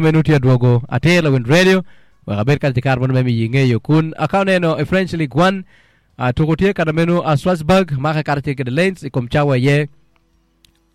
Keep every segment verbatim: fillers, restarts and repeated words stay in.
Menu tye adwogo atir Lawin Radio wek abed kacel ki kare mono me miyi ngeyo kun ka oneno i French League One tuko tye kana menu a Strasbourg make karacel kede Lens i kom cawa iye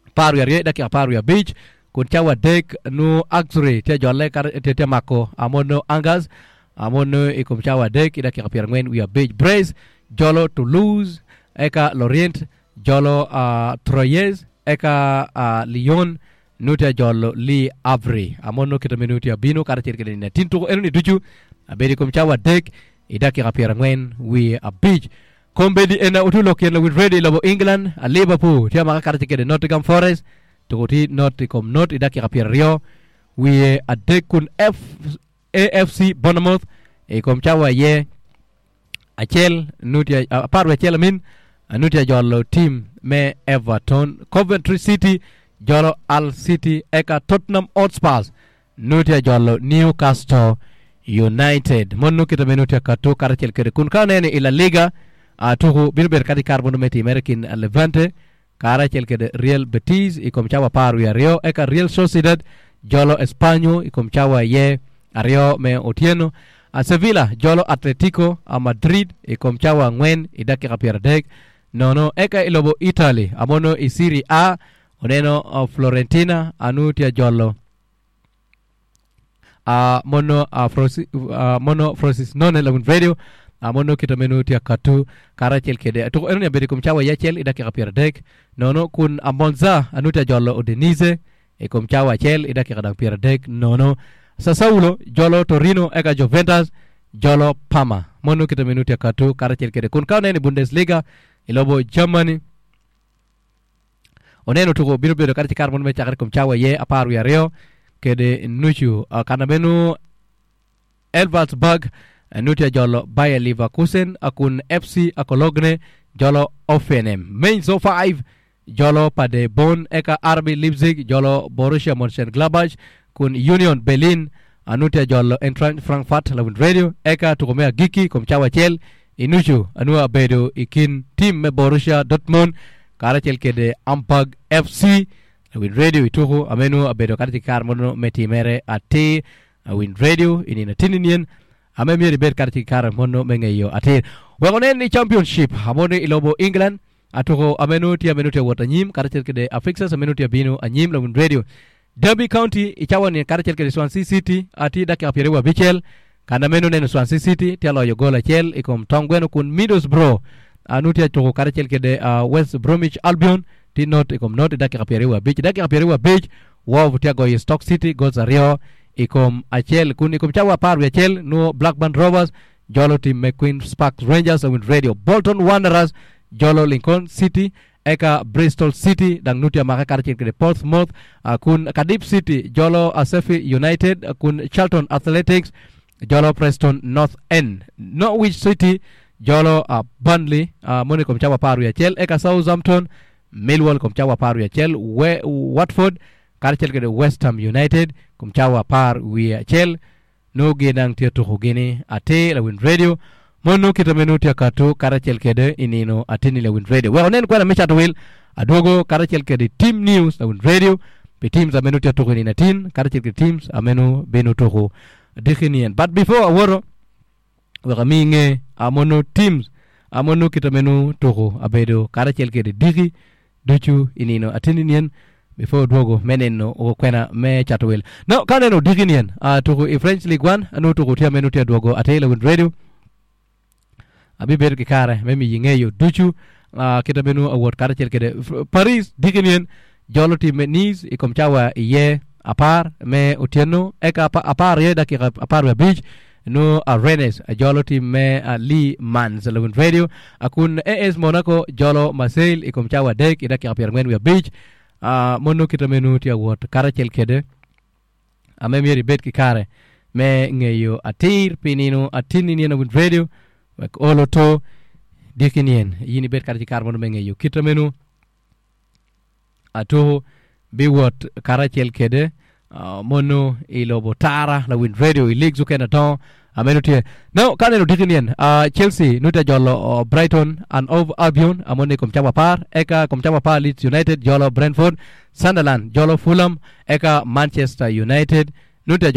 apar wiye aryo i dakika apar wiye abic kun cawa adek nu Auxerre tye jolle tye tye mako amono Angers amono i kom cawa adek i dakika pyerangwen wiye abic Brest jolo Toulouse eka Lorient jolo uh, Troyes eka uh, Lyon Nuti ajolo Le Havre amono kite me nuti abino karacel kede nino atin tuko enoni ducu abedo i kom cawa adek i dakika pyerangwen wiye abic. Kombeddi ena otu lok yen lawil radio i lobo England a Liverpool tye amaka karacel kede Nottingham Forest tuko tye not i kom not i dakika pyeraryo wiye adek kun A F C Bournemouth i kom cawa aye acel nuti apar wiye acel amin nuti ajolo tim me Everton. Coventry City jolo Hull City eka Tottenham Hotspurs nuti ajolo Newcastle United. Mon kite me nuti akato karacel kede kun ka oneno i La Liga tuku bino bedo kadi kare mono me timere kin Levante karacel kede Real Betis i kom cawa apar wiye aryo eka Real Sociedad jolo Espanyol i kom cawa iye aryo me otyeno. Sevilla jolo Atletico Madrid i kom cawa angwen i dakika pyeradek nono eka i lobo Italy amono i Serie A oneno Florentina anu tye jolo mono mono Frosinone lawin radio mono kite meno tye akatu karacel kede tuko enoni abedo i kom cawa iye acel i dakika pyeradek nono kun Monza anu tye jolo Udinese i kom cawa acel i dakika dang pyeradek nono Sassuolo jolo Torino eka Juventus jolo Parma mono kite meno tye akatu karacel kede kun ka oneno i Bundesliga i lobo Germany oneno tuko bino bedo kadi kare mono me cakere kom cawa iye apar wiye aryo kede nucu kana meno Elversberg nuti ajolo Bayer Leverkusen kun F C Cologne jolo Hoffenheim Mainz oh five jolo Paderborn eka R B Leipzig jolo Borussia Mönchengladbach kun Union Berlin anuti ajolo Eintracht Frankfurt lawin radio eka tuko me agiki kom cawa acel inucu anua abedo i kin tim me Borussia Dortmund karacel kede Hamburg F C lawin radio ituku amenu abedo kadi kare mono me timere atir lawin radio inina tininien ame myero ibed kadi kare mono me ngeyo atir wek onen ni championship amoni i lobo England atuko amenu tye amenu tye wot anyim karacel kede Afixes amenu tye abino anyim lawin radio Derby County icawa ni karacel kede Swansea City ati dakika pyeraryo abicel kana meno neno Swansea City tye aloyo gol acel i kom tong gweno kun Middlesbrough anu tye atuko karacel kede West Bromwich Albion tye not i kom not i dakika pyeraryo abic dakika pyeraryo abic Wolves tye agoyo Stoke City goals aryo i kom acel kun i kom cawa apar wiye acel nwo Blackburn Rovers jolo tim me Queens Park Rangers awin radio Bolton Wanderers jolo Lincoln City eka Bristol City dang nuti amake karacel kede Portsmouth kun Cardiff City jolo Sheffield United kun Charlton Athletics jolo Preston North End Norwich City jolo Burnley moni kom cawa apar wiye acel eka Southampton Millwall kom cawa apar wiye acel Watford karacel kede West Ham United kom cawa apar wiye acel no gin tye tuko gini atir lawin radio mono kite meno tye akatu karacel kede inino atini lawin radio wek onen kwena me cato wil adwogo karacel kede team news lawin radio pi teams ameno tye tuko inino atin karacel kede teams ameno bino tuko dikinien but before awoto wek ami nge amono teams amono kite meno tuko abedo karacel kede diki ducu inino atini nien before dwogo meneno kwena me cato wil no ka neno diki nien tuko i French League One anu tuko tye ameno tye dwogo atir lawin radio abi bedo ki kare me miyi ngeyo ducu kite meno awot karacel kede Paris diki nien jolo tim me Nice i kom cawa iye apar me otyeno eka apar iye dakika apar wiye abic nu Rennes jolo tim me Le Mans lawin radio kun A S Monaco jolo Marseille i kom cawa adek i dakika pyerangwen wiye abic mono kite meno tye awot karacel kede ame myero ibed ki kare me ngeyo atir pi nino atini nino win radio wek olo to diki nien yin ibed kare ki kare mono me ngeyo kite meno atuko biwot karacel kede mono i lobo tara lawin radio i leagues okene dongo ameno tye no ka neno diki nien Chelsea nute jolo Brighton and Hove Albion amoni kom cawa apar eka kom cawa apar Leeds United jolo Brentford Sunderland jolo Fulham eka Manchester United Nuti.